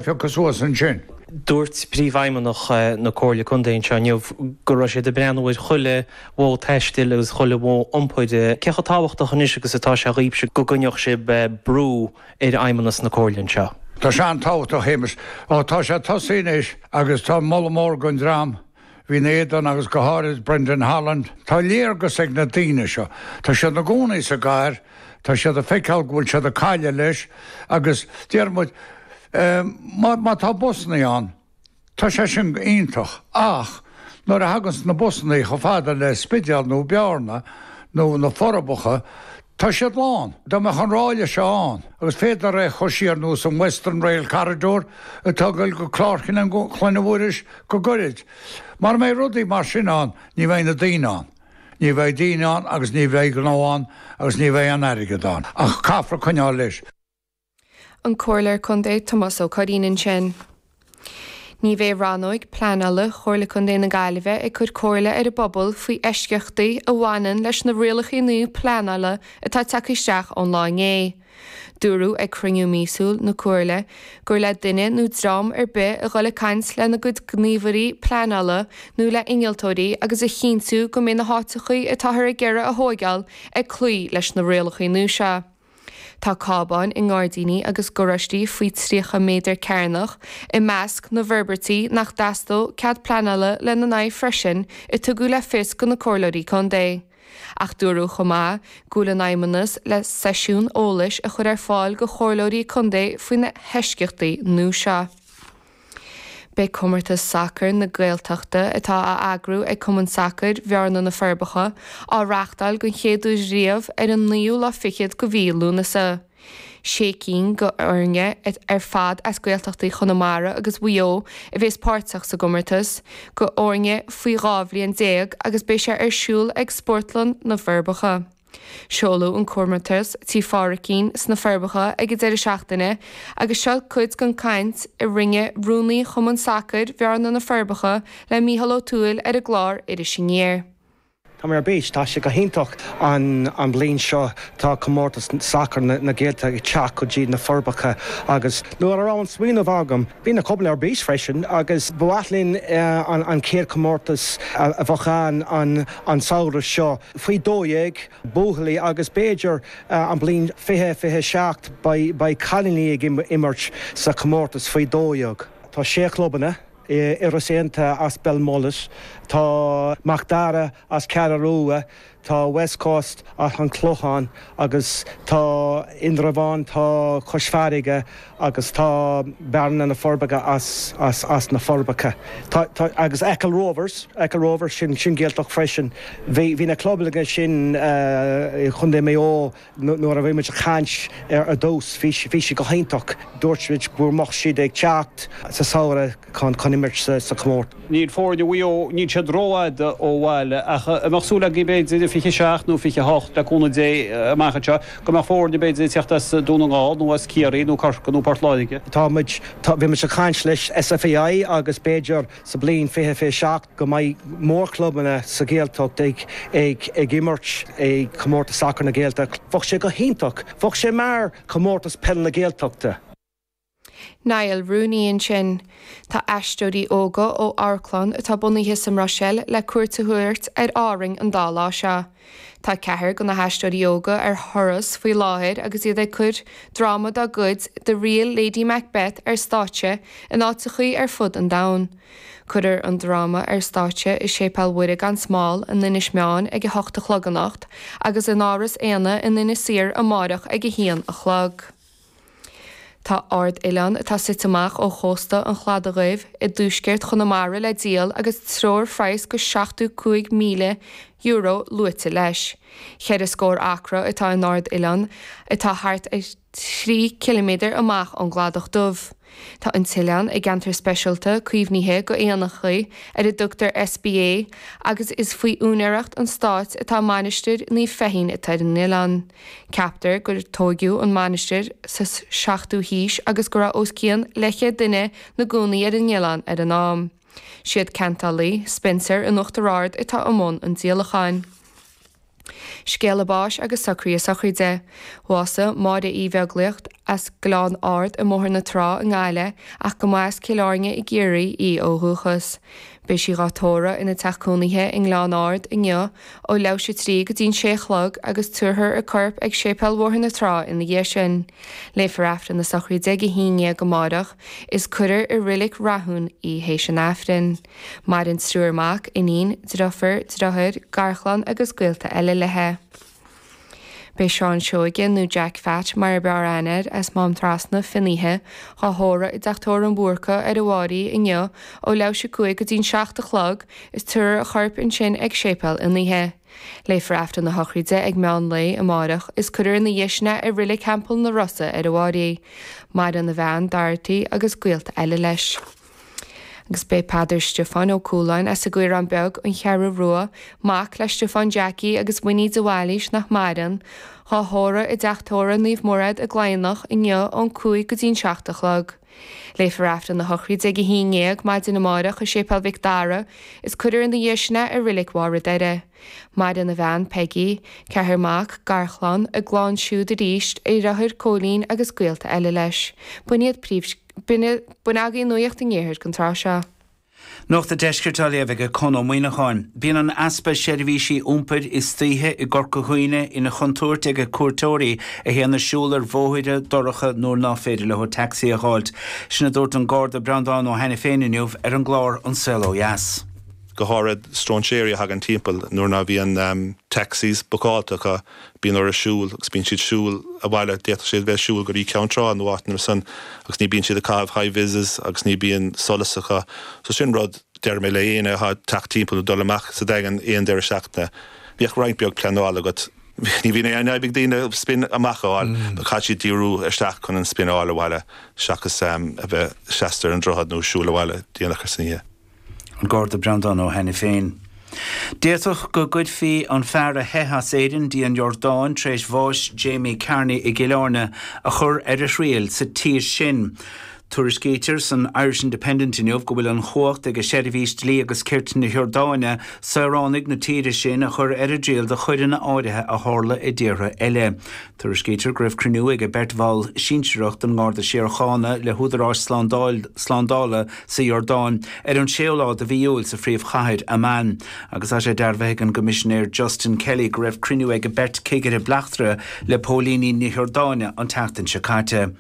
Phiocadh suas ansin. Dúirt Príomhfheidhmeannach na Comhairle Contae anseo inniu go raibh siad ag breathnú ar chuile mhodh taistil agus chuile mhodh iompair. Cé chomh tábhachtach anois agus atá sé dhaoibhse go gcoinneodh sibh brú ar fheidhmeannas na Comhairle anseo? Tá sé an-tábhachtach, a Shéamais. Ó, tá sé tosaithe anois agus tá moladh mór don dream a bhí ina éadan agus go háirid Brendan Holland. Tá léargas ag na daoine seo. Tá siad ina gcónaí sa gcathair, tá siad ag feiceáil go bhfuil siad ag cailleadh leis agus deir muid, má tá busannaí ann, tá sé sin iontach ach nuair a thaganns na busannaí chomh fada le Spidéal nó Bearna nó na Forbacha, Tá siad lán. Dá mbeadh an ráille seo ann, agus féadtar é a chur siar nós an Western Rail Corridor atá ag dul go Clár Chlainne Mhuiris go gairid. Mara mbeidh rudaí mar sin ann, ní bheidh na daoine ann. Ní bheidh daoine ann agus ní bheidh gnó ann agus ní bheidh aon airgead ann. Ach caithfear coinneáil leis. An Comhairleoir Contae Tomás Ó Curraoin ansin. Ní bheidh Rannóig Pleanála Chomhairle Contae na Gaillimhe ag cur comhairle ar an bpobal faoi eisceachtaí a bhaineann leis na rialacha nua pleanála atá tagtha isteach ón lá inné. Dúradh ag cruinniú míosúil na Comhairle gur le duine nó dream ar bith a dhul ag caint lena gcuid gníomhairí pleanála nó le innealtóirí agus a chinntiú go mbeidh na háiteachaí atáthar ag iarraidh a thóigeáil ag cloí leis na rialacha nua seo. Tá cábáin i ngairdíní agus garáistí faoi 30 méadar cearnach i measc na bhforbairtí nach dteastódh cead pleanála lena n-aghaidh freisin a tugadh le fios do na Comhairleoirí Contae. Ach dúradh chomh maith go bhfuil an Fheidhmeannas le seisiún eolais a chur ar fáil do Chomhairleoirí Contae faoi na heisceachtaí nua seo. Beidh Comórtas Sacair na Gaeltachta, atá á eagrú ag Cumann Sacair Bhearna-Na Forbacha, á reáchtáil den chéad uair riamh ar an naoú lá fichead de mhí Lúnasa. Sé cinn de fhoirne ar fad as Gaeltachtaí Chonamara agus Mhaigh Eo a bhéas páirteach sa gcomórtas, do fhoirne faoi 12 bhliain agus beidh sé ar siúl ag Spórtlann na bhForbacha. Seoladh an comórtas Tí Phádraicín sna Forbacha ag an deireadh seachtaine agus seo cuid den chaint a rinne rúnaí Chumann Sacair Bhearna na Forbacha le Mícheál Ó Tuathail ar an gclár Iris Aniar. Tá mé ar bís, tá sé go hiontach an bliain seo tá comórtas sacair na Gaeltachta ag teacht go dtí na Forbacha agus nuair a raibh an smaoineamh agam bhí na clubanna ar bís freisin agus ba mhaith linn an chéad chomórtas a bheadh ann an samhradh seo. Faoi 12, buachaillí, agus b'fhéidir an bliain 2027 beidh cailíní ag imirt sa chomórtas faoi 12. Tá sé chlubanna, Iorras Aontaithe as Belmullet, tá Mac Dara as Ceathrú Rua, tá West Coast as an Clochán agus tá Indreabhán, tá Cois Farraige agus tá Bearna na Forbacha as as na Forbacha. Tá tá agus Achill Rovers, Achill Rovers, sin sin Gaeltacht freisin. Bhí bhí na clubanna sin i Chontae Mhaigh Eo nuair a bhí muid ag caint ar dtús, bhí bhí siad go hiontach. Dúirt muid go mbeadh siad ag teacht sa samhradh chun chun imirt sa sa chomórtas. Níl foirne Mhaigh Eo, níl siad rófhada ó bhaile ach an mbeadh súil agaibh b'fhéidir i 27 nó 28 le cúnamh Dé amach anseo go mbeadh foirne b'fhéidir ag teacht as Dún na nGall nó as Ciarraí nó Corcaigh nó Port Láirge? Tá muid, tá, bhí muid ag caint leis SFAI agus b'fhéidir sa bliain 2027 go mbeidh mórchlubanna sa Ghaeltacht ag, ag, ag imirt i Comórtas Sacair na Gaeltachta. Bheadh sé go hiontach. Bheadh sé mar Chomórtas Peile na Gaeltachta. Niall Rooney ansin. Tá aisteoirí óga ó amharclann atá bunaithe sa mBruiséil le cuairt a thabhairt ar Árainn an dá lá seo. Tá ceathrar de na haisteoirí óga ar thuras faoi láthair agus iad ag cur dráma dá gcuid, The Real Lady Macbeth, ar stáitse in áiteachaí ar fud an domhain. Cuirfear an dráma ar stáitse i Séipéal Mhuire gan Smál in Inis Meáin ag a hocht a chlog anocht agus in Áras Éanna in Inis Oírr amáireach ag a haon a chlog. Tá ard-oileán atá suite amach ó chósta an Chladaigh Dhuibh i dtuaisceart Chonamara le díol agus treoirphraghas go €75,000 luaite leis. Cheithre scór acra atá in ard-oileán atá thart ar thrí chiliméadar amach ón gCladach Dubh. Tá an t-oileán i gceantar speisialta caomhnaithe go éanachaí ar a dtugtar SPA agus is faoi úinéireacht an stáit atá Mainistir Naomh Feichín atá ar an oileán. Ceaptar gur tóigeadh an mainistir sa 7ú haois agus go raibh os cionn leathchéad duine 'na gcónaí ar an oileán ar an am. Siad ceantálaí, Spencer in Uachtar Ard atá i mbun an díolacháin. Scéala báis agus socruithe sochraide. Bhásaigh Máire Uí Bheaglaoich as Gleann Ard i mBóthar na Trá i nGaillimh ach go mba as Cill Airne i gCiarraí í ó dhúchas. Beidh sí dhá tórramh ina teach cónaithe i nGleann Ard inniu ó leathuair théis 3 go dtí'n 6 a chlog agus tabharfar a corp ag Séipéal Bhóthar na Trá ina dhiaidh sin. Léifear Aifreann na sochraide ag 11 amáireach is cuirfear i Reilig Rathún í théis an Aifrinn. Maireann triúr mac, iníon, driofúr, driotháir, garchlann agus gaolta eile léi. Beidh Seán Seoige, nó Jack Pheait mar ab fhearr aithne air, as Mám Trasna, Finnéithe, dhá thórramh i dTeach Tórraimh an Bhúrcaigh ar an bhFáirí inniu ó leathuair théis 5 go dtí'n 7 a chlog is tabharfar a chorp ansin ag Séipéal Fhinnéithe. Léifear Aifreann na sochraide ag meán lae amárach is cuirfear ina dhiaidh sin é i Reilig Theampall na Rosa ar an bhFáirí. Maireann a bhean, Dorothy, agus gaolta eile leis. Agus b'é Peadar Stiofáin Ó Cualáin as an gCaorán Beag, An Cheathrú Rua, mac le Stiofán Jackie agus Winnie de Bhailís nach maireann, dhá thórramh i dTeach Tórraimh Naomh Mairéad i gCladhnach inniu ón 5 go dtí'n 7 a chlog. Léifear Aifreann na sochraide ag 11 maidin amárach i Séipéal Mhic Dara is cuirfear ina dhiaidh sin é i Reilig Bharr an Doire. Maireann a bhean, Peggy, ceathrar mac, garchlann, a gclann siúd arís, a dheartháir Cóilín agus gaolta eile leis. B'in iad príomh. B'in agaibh Nuacht an Iarthair don tráth seo. Nuacht an Deiscirt á léamh ag Con Ó Muíneacháin. Bíonn an easpa seirbhísí iompair istoíche i gCorca Dhuibhne ina chontúirt ag cuairteoirí a théann ag siúl ar bhóithre dorcha nuair ná féidir leo tacsaí a dh'fháilt. Sin a dúirt an Garda Breandán Ó hAiniféin inniu ar an gclár An Saol Ó Dheas. Go háirid stróinséirí a thagann timpeall nuair ná bhíonn taxis bookáilte acu, bíonn orthu siúl agus bíonn siad siúl abhaile, d'fhéadfadh siad bheith ag siúl go dtí Ceann Trá nó áit mar san agus ní bíonn siad ag caitheamh high vises agus ní bíonn solas acu. So sin rud, deir mé le éinne atá ag teacht timpeall nó dul amach sa Daingean aon deireadh seachtaine, bíodh roinnt beag pleanála agat. Ní bhíonn aon fhadhb ag daoine spin amach a fháil, but caithfidh siad díriú isteach chun an spin a fháil abhaile seachas a bheith seasta ar an droichead nó siúl abhaile déanach ar san oíche. An Garda Breandán Ó hAiniféin. D'fhéadfadh go gcuirfí an fear a theith as Éirinn dtí an Iordáin tar éis bháis Jamie Carney i gCill Airne a chur ar a thriail sa tír sin. Tuairiscítear san Irish Independent inniu go bhfuil an chumhacht ag Seirbhís Dlí agus Cirt na hIordáine saoránaigh na tíre sin a chur ar a dtriail do choireanna áirithe a tharla i dtíortha eile. Tuairiscítear go raibh cruinniú ag beirt bhall sinsearach den nGarda Síochána le húdaráis slándála sa Iordáin ar an séú lá de mhí Iúil sa phríomhchathair, Amman, agus tá sé dearbhaithe ag an gCoimisinéir Justin Kelly go raibh cruinniú ag beirt cigire bleachtaire le póilíní na hIordáine an tseachtain seo caite.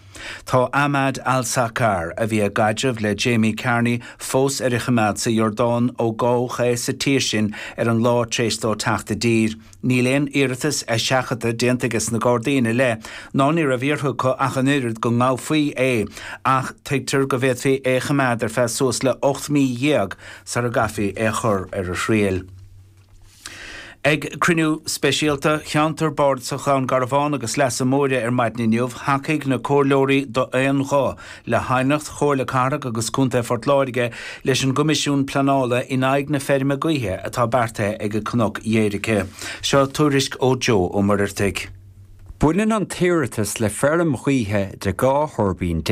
Tá Ahmad Al Saqar, a bhí i gcaidreamh le Jamie Carney, fós ar choimeád sa Iordáin ó gabhadh é sa tír sin ar an lá tar éis dó teacht i dtír. Níl aon iarratas eiseachadta déanta aige na Gardaí ina leith, ná ní raibh iarrtha acu ach an oiread go ngabhfaí é, ach tuigtear go bhféadfaí é a choimeád ar feadh suas le 18 mí sara gcaithfí é a chur ar a thriail. Ag cruinniú speisialta Cheantar Bardasach Dhún Garbhán agus Leasa Móire ar maidin inniu, thacaigh na comhairleoirí d'aon ghuth le haighneacht Chomhairle Cathrach agus Contae Phort Láirge leis an gCoimisiún Pleanála in aghaidh na feirme gaoithe atá beartaithe ag Cnoc Dhéirce. Seo tuairisc ó Joe Ó Muircheartaigh. Baineann an t-iarratas le feirm ghaoithe de 12 thuirbín,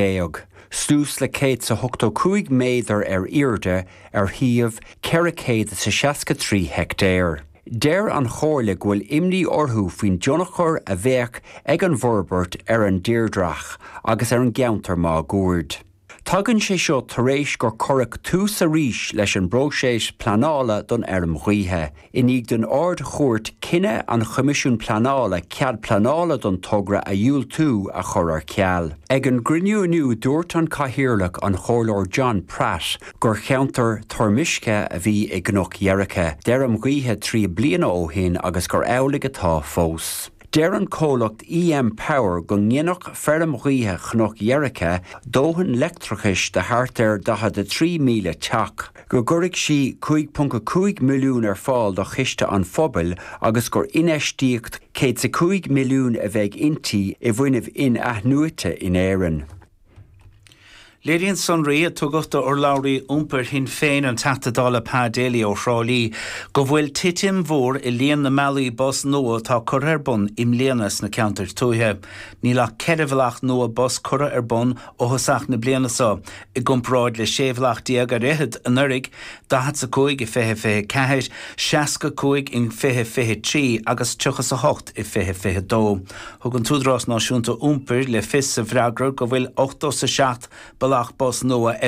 suas le 185 méadar ar airde ar shuíomh 463 heicteár. Deir an Chomhairle go bhfuil imní orthu faoin dtionchar a bheadh ag an bhforbairt ar an dtírdhreach agus ar an gceantar máguaird. Tagann sé seo tar éis gur cuireadh tús arís leis an bpróiseas pleanála don fheirm ghaoithe, i ndiaidh don Ard-Chúirt cinneadh an Choimisiúin Pleanála cead pleanála don togra a dhiúltú a chur ar ceal. Ag an gcruinniú inniu dúirt an Cathaoirleach, an Comhairleoir John Pratt, gur cheantar toirmiscthe a bhí i gCnoc Dheirce d'fheirm ghaoithe 30 bliana ó shin agus gur amhlaidh atá fós. Deir an comhlacht EM Power go nginfeadh feirm ghaoithe Chnoc Dheirce dóthain leictreachais do thart ar 43,000 teach, go gcuirfeadh sí 5.5 milliún ar fáil do chiste an phobail agus gur infheistíocht 105 milliún a bheidh inti i bhfuinneamh in-athnuaite in Éirinn. Léiríonn sonraí a tugadh d'urlabhraí iompair Shinn Féin, an Teachta Dála Pa Daly ó Thrá Lí, go bhfuil titim mhór i líon na mbealaí bus nua atá curtha ar bun i mbliana sna ceantair tuaithe. Níl ach 14 bhealach nua bus curtha ar bun ó thosach na bliana seo, i gcomparáid le 16 bhealach ar fhichead anuraidh, 45 i 2024, 65 in 2023 agus 38 i 2022. Thug an tÚdarás Náisiúnta Iompair le fios sa bhfreagra go bhfuil 87 bealach bus nua ar.